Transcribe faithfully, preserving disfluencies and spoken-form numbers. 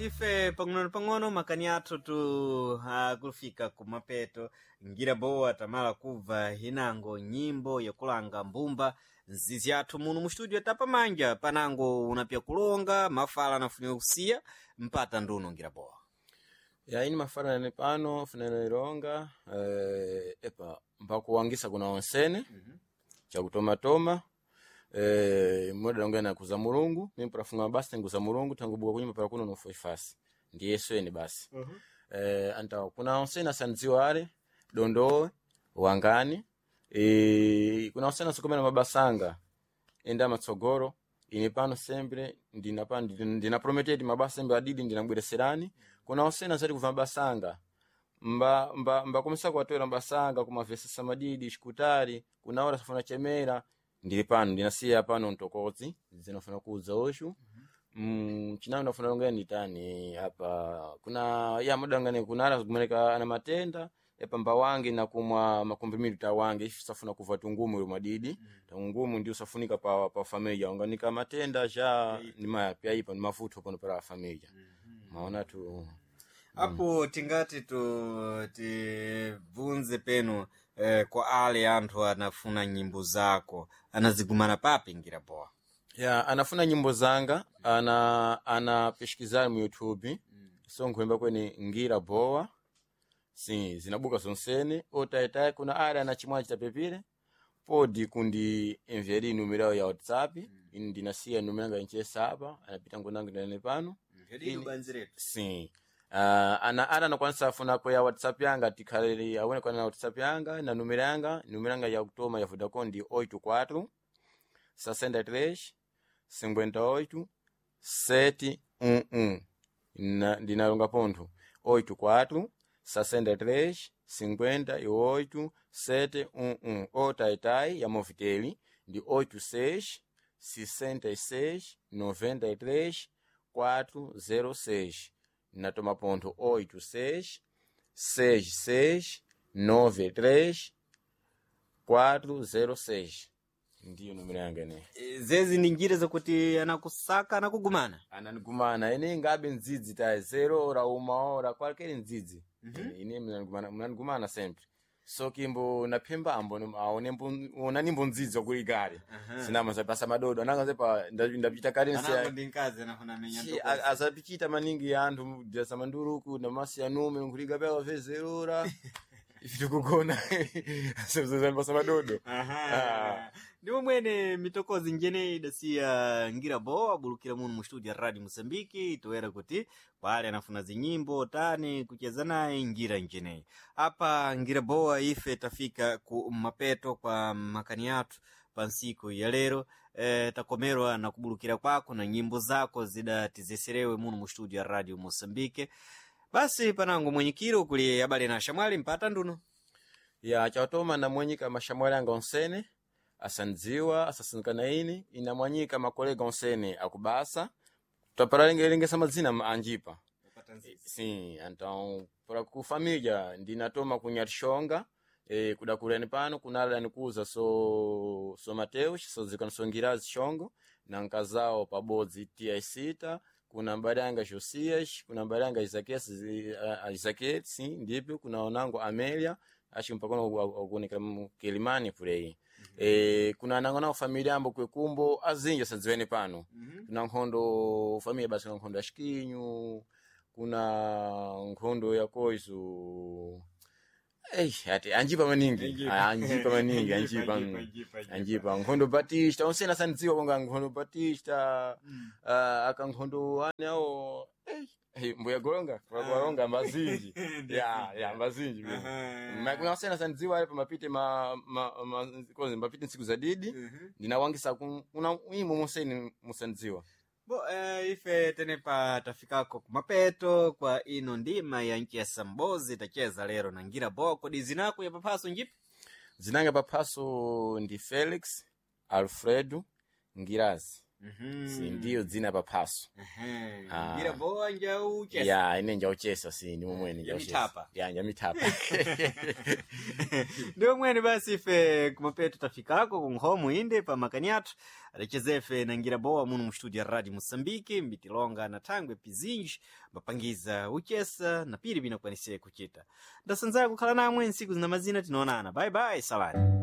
Ife pang'ono pang'ono makani athu tu akufika kumapeto. Ngira bowa tamala kubva hinango nyimbo yakulanga mbumba nzizi athu muno mu studio tapamanja panango unapya kulonga mafala anafunika kusiya mpata nduno ngira bowa. Ya ini mafala nene pano funene ilonga eh, epa mpakuwangisa kuna onsene mm -hmm. Chakutomatoma eh, moda ongena kuza Mulungu mimi prafunga basi nguza Mulungu tangu buka kunyumba para kuno nofo ifasi ndi Yesu eni basi mm -hmm. Eh, anta kuna onsene asandziwa ale dondowe wangani e, kuna onsene asikomena mabasanga enda matsogolo ine pano sempre ndina pano ndina prometedi mabasa sembe adidi ndinabwereserani kuna osena zati kubva mabasanga mba mba mbakomesa kuwatowera mabasanga kumavesesa madidi xikutali kuna ora safuna chemera ndili pano ndinasiya pano mtokodzi zinafuna kuudza oxu mm, chinayo ndafuna longera nditani apa kuna ya madangane kuna ara kumeneka ana matenda epa mbawange nakumwa makomprimido tawange ife safuna kuva tungumu ilo madidi mm. Tungumu ndio safunika pa pa familia unganika matenda ja ni mapya ipa ni mafuto pano para familia mm -hmm. Maona tu apo tingati tu tibvunze penu eh, kwa ale anthu anafuna nyimbo zako anazigumana papi ngira bowa ya anafuna nyimbo zanga ana anapishikizana mu YouTube mm. So nkuimba kweni ngira bowa si zinabuka zonsene otaitayi kuna ale ana chimwachi chapepire podi kundi envieri numero ya WhatsApp mm. Ini ndinasiya numero yanga inchesa apa anapita ngonango ndane pano si uh, ana ana anakwanisa afuna ko ya WhatsApp yanga tikhalele awone kwana na WhatsApp yanga na numero yanga numero yanga ya kutoma ya Vodacom ndi oito quatro sessenta e três cinquenta e oito sete um um na ndinalonga pontho oito quatro sessenta e três cinquenta e oito sete um um ou taitai ya Movitel ndi oito seis sessenta e seis noventa e três quatro zero seis natoma ponto oito seis seis seis nove três quatro zero seis ndiyo numero yanga ine zezi ndi njira zakuti anakusaka anakugumana ananigumana ine ngabe ndzidzi ta zero ora uma ora qualquer ndzidzi mm -hmm. Ine mnanigumana mnanigumana sempre so kimbo naphemba ambo aone onanimbo ndzidzi wakulikale uh -huh. Sinama zapasa madodo ananga zepa ndapita kale azapichita maningi anthu dasa manduruku namasi anume nkuliga pewa vezerora ife tikugona pasa madodo ndimo mwene mitokozi njene idasiya ngira bowa abulukira muno mu studio ya radio Moçambique toera kuti kwale anafuna zinyimbo tani kucheza naye ngira njeneyi apa ngira bowa ife tafika ku mapeto kwa makani athu pa nsiku ya lero e, takomerwa na kubulukira kwako na nyimbo zako zidatizeserewe muno mu studio ya radio Moçambique basi panango mwenyikiro kuli abale na shamwali mpata nduno ya chatoma namwenyika mashamwali anga onsene asandziwa asasinkana ini inamwanyika makolega onsene akubasa taparalengelengesa madzina anjipa sim então para ku família ndinatoma ku Nyatishonga e, kudakulani pano kunala nikuza so so Mateus sozikana songirazi shongo na nkazao pabodzi tia isita kuna mbali Josias kuna mbali Isaquias Isaquias sim ndipyo kuna onango Amelia acho mpaka akuonekera mu Kilimani pulei mm -hmm. E, kuna nango nawo familia ambo kwekumbo azinja sadziweni pano mm -hmm. Kuna nkhondo familia basi kuna nkhondo ya Xikinyu kuna nkhondo ya koizo Ei, ati anjipa maningi anjipa maningi anjipa anjipa nkhondo Batista onsena sandziwa konga nkhondo Batista mm. uh, aka nkhondo ane awo ei mbuya golonga golonga mazinji ya ya mazinji uh-huh. Kuna osena sandziwa ali pamapite ma ma, ma kozi mapite ntsiku za didi uh-huh. Ndinawangisa kuna imo moseni musandziwa bo eh, ife tenepa tafikako kumapeto kwa ino ndima ya nchi ya sambozi tacheza lero na ngira bowa kodi zinako ya paphaso njipi zinanga paphaso ndi Felix Alfredo Ngirazi Mhm. Si ndiyo dzina paphaso. Ehe. Ah. Ngira boa njauchesa. Ya, ine njauchesa si ndi momwene njauchesa. Njamitapa. Ya, njamitapa. Ndiwo mwene basi ife kumapeto tafikako kunkhomo inde pa makani athu adachezefe na ngira bowa muno mu studio ya radio moçambique mbitilonga na thangwe pizinji mbapangiza uchesa na pili binakwanise kuchita ndasanzaya kukhala namwe ntsiku zina mazina tinoonana bye bye salani.